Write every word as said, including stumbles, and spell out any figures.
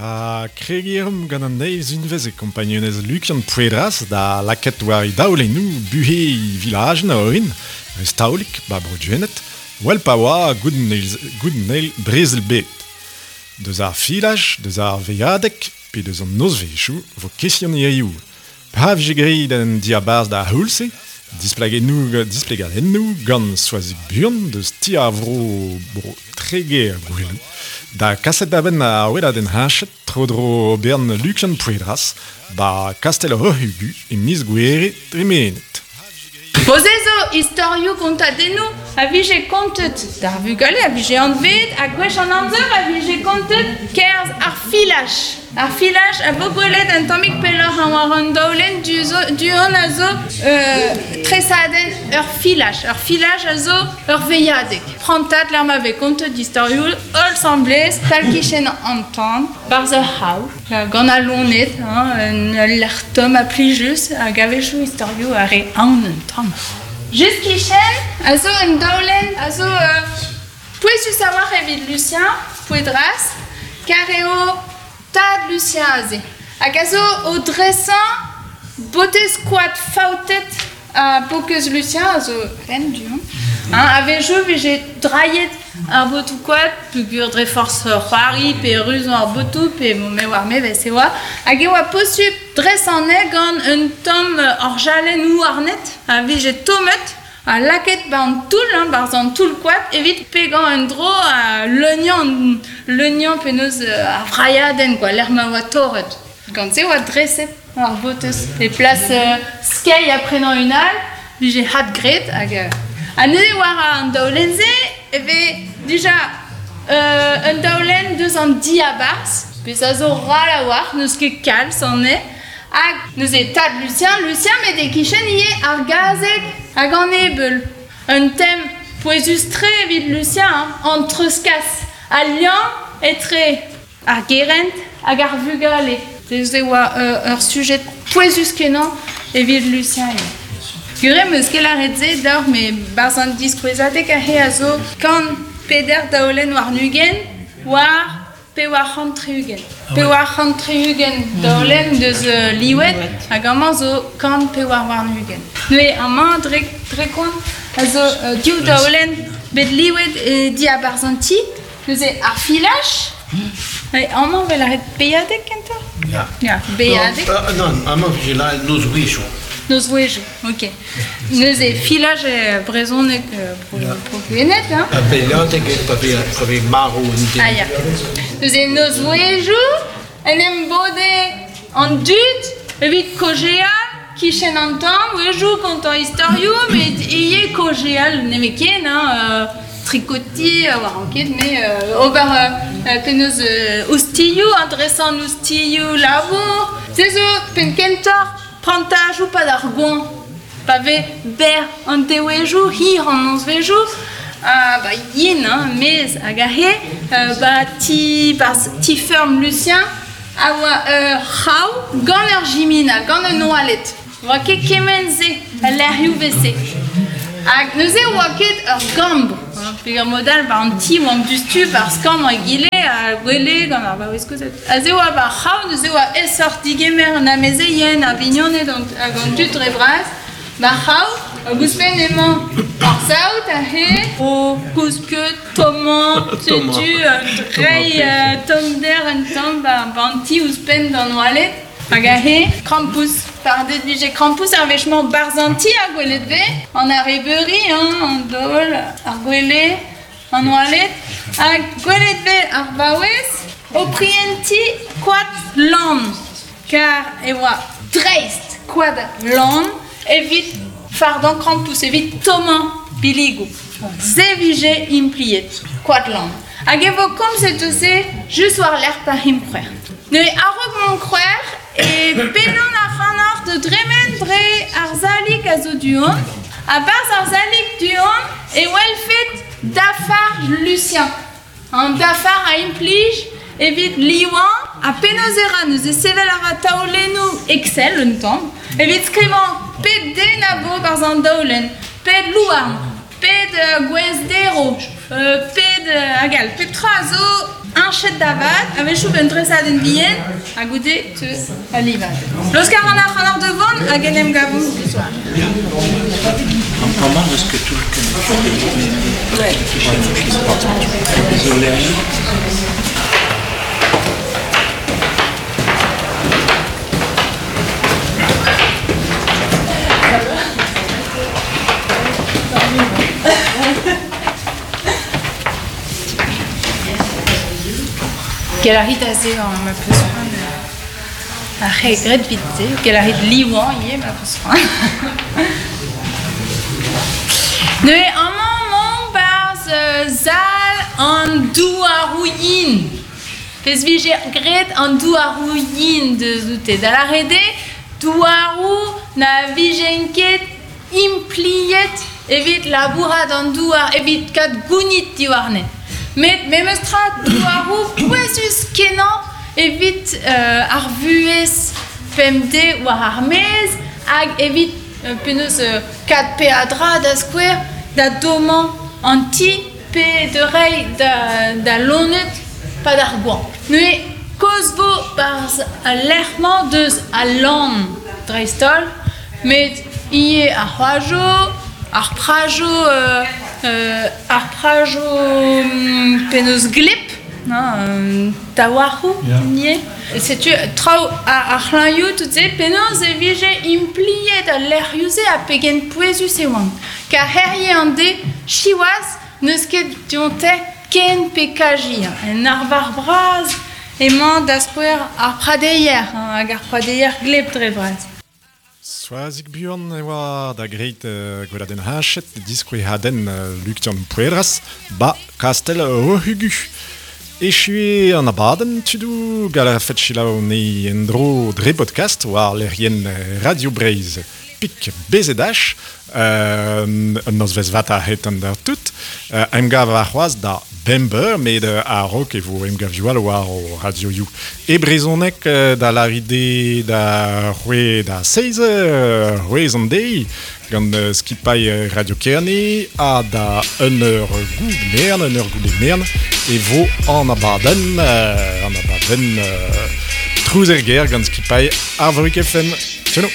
Ha kregiñ a reomp gant an eil unvez e kompagnunezh Lukian Pouedras da lakaat war e daolennoù buhez vilajenn a orin, Restaolik, ba Bro-Gwened, wel pa oa goude an eil brezel bed. Deus ar filaj, deus ar veilhadeg, pe deus an nozvezhioù vo kestion hiziv. Pa vije graet an diabarzh d'ar c'houlz-se, displegadennoù, displegadennoù gant Soazig Buhan deus Ti ar Vro Bro Treger Goueloù, da kaset da benn ar weladenn heñchet tro-dro oberenn Lukian Pouedras ba Kastell Roc'h-Ugu e miz Gouhere tremenet. Bo se zo istorioù kontadennoù a vije kontet d'ar vugale a vije anvet ha gwech an amzer a vije kontet kerzh ar filaj. Ar filaj a vo gwelet un tammig pelloc'h war an daolenn du-hont a zo euh, tresadenn ur filaj. Ur filaj a zo ur veilhadeg. Prantad lec'h ma vez kontet istorioù holl asambles tal-kichen an tan, barzh ur c'hav, gant al loened, hein, ul lec'h tomm ha plijus hag a-wechoù istorioù a re aon un tamm. Just kichen a zo un daolenn a zo euh, pouezus a-walc'h evit Lucien Pouedras, kar eo tad Lucien aze. Hag a zo o dresañ botez koad faoutet a bokeuz Lucien a zo ren du-hont. Hein, a-wechoù vije drailhet ar botoù koad peogwir dre forzh c'hoari pe ruzañ ar botoù pe me oar me ves e oa. Hag e oa posupl dresañ anezhe gant un tamm orjalenn houarnet a vije tommet ha lakaet ba an toull, hein, barzh an toull koad evit pegañ un dro ha leuniañ, leuniañ penaos ar vrailhadenn quoi, lec'h ma oa torret. Gant se oa dreset ar botez. E plas euh, skeiñ ha prenañ un all, vije hadgraet hag euh, ha neuze war an daolenn-se e vez dija euh, un daolenn deus an diabarzh, pezh a zo ral a-walc'h, n'eus ket kalz anezhe. Hag neuze tad Lucien, Lucien met e-kichen ivez ar gazeg hag an ebeul. Un tem pouezus-tre evit Lucien, hein, an treuzkas, al liamm etre ar gerent hag ar vugale. Se oa euh, ur sujet pouezus-kenañ evit Lucien ivez. Gure 'm eus ket lâret se deoc'h, met barzh an diskouezadeg aze a zo kant peder daolenn warn-ugent war pevar c'hant tri-ugent. Pevar c'hant tri-ugent daolenn deus euh, liwet hag amañ zo kant pevar warn-ugent. Neuze amañ dre, dre kont a zo euh, div daolenn bet liwet e diabarzh an ti. Neuze ar filaj, amañ 'vel lâret beilhadeg kentoc'h? Ya. Ya, beilhadeg. Non, non, amañ vije lâret nozvezhioù. Nozvezhioù, ok. Neuze filaj e brezhoneg bro, bro Gwened, hein? Ha beilhadeg eo pa vez, pa vez marv un den. Ah ya. Neuze nozvezhioù en em bode an dud evit kaozeal kichen an tan, wejoù kontañ istorioù, met ivez kaozeal nemetken, hein, euh, trikotiñ war an ket, met euh, ober euh, penaos euh, ostilhoù, hein, dresañ an ostilhoù labour. Se zo penn kentoc'h prantajoù pad ar goañv. Pa vez berr an devezhioù, hir an nozvezhioù, ha ba yen, hein, maez hag aze, euh, ba ti, barzh ti-feurm Lucien, a oa ur c'hraou gant ur jimina, gant un oaled. Oa ket kement-se, al lec'hioù vez-se. Hag neuze oa ket ur gambr. Peogwir mod all war an ti oamp diouzhtu barzh kambr egile ha gwele gant ar vaouez kozh. Aze oa war c'hraou, neuze oa aesoc'h digemer an amezeien, ar vignoned hag an dud dre vras. War c'hraou, hag ouzhpenn emañ ar saout aze o kousket, tommañ, setu reiñ tommder un tamm ba an ti ouzhpenn d'an oaled. Hag aze, krampouezh. Fardet vije krampouezh ar wech-mañ barzh an ti ha gwelet vez an arrebeuri, hein, an daol, ar gwele, an oaled. Hag gwelet vez ar vaouez o prientiñ koad lann. Kar e oa dreist koad lann evit fardañ krampouezh, evit tommañ billigoù. Se vije impliet, koad lann. Hag e vo komzet eus se just war-lerc'h pa c'himp c'hwec'h. Neuze a-raok mont c'hwec'h e pedan ac'hanoc'h da dremen dre ar salig a zo du-hont. Ha barzh ar salig du-hont e welfet dafar Lucien. An dafar a implij evit livañ ha penaos e ra neuze sevel a ra taolennoù Excel un tamm evit skrivañ pet den a vo barzh an daolenn, pet louarn, pet gwez derv, pet hag all. Pep tra a zo Heñchet da vat, a-wechoù un dresadenn bihan, ha goude teu al livad. Loskar an ar c'hanoc'h de vont hag en em gavomp soir. Amañ eus ket toull ken. Désolé. Quel a rit aze an ma peus c'hoant ar c'he gret vit se, quel a rit liwan ivez ma peus c'hoant. Neuze amañ mont barzh zal an douarouilhin. Pezh vije gret an douarouilhin deus oute. Da lâret eo, douarou na vijen ket impliet evit labourat an douar, evit kat gounit diwarne. Met memes tra douarou pouezus kenañ evit euh, ar vuhez pemdez war ar maez hag evit euh, penaos euh, kat peadra da skouer da dommañ an ti pe de reiñ da, da loened pa d'ar goañv. Neuze kaoz vo barzh al lec'h-mañ deus al lann dreist-holl, met ivez ar c'hoajoù, ar prajoù euh, euh, ar prajoù penaos gleb, hein, taouarc'hoù ivez. Setu traoù ar c'hlañioù tout se penaos e vije impliet al lec'hioù-se ha pegen pouezus e oant. Kar herie an de siwazh n'eus ket dionte ken pe kaji. En arvar bras emañ da skouer ar pradeier, hein, hag ar pradeier gleb dre vras. Soazig buan e oa da greit uh, gweladenn heñchet diskouezhadenn uh, Lukian Pouedras ba Kastel Rohugu. Echu an abadenn tudoù gall a rafet selaou ne en-dro dre podcast war lec'hienn Radio Breizh pik B Z H euh, un nozvezh vat a-hed an d'ar tout. Euh, emgav ar c'hoazh da bemp eur, met a-raok e vo emgavioù all war o radioioù. E brezhoneg da lâret da c'hweh da seizh eur, c'hwezh an deiz, gant skipailh Radio Kerne ha da un eur goude mern, un eur goude mern, e vo an abadenn, an abadenn euh, trouz er ger gant skipailh Arvorig F M. Tcheno.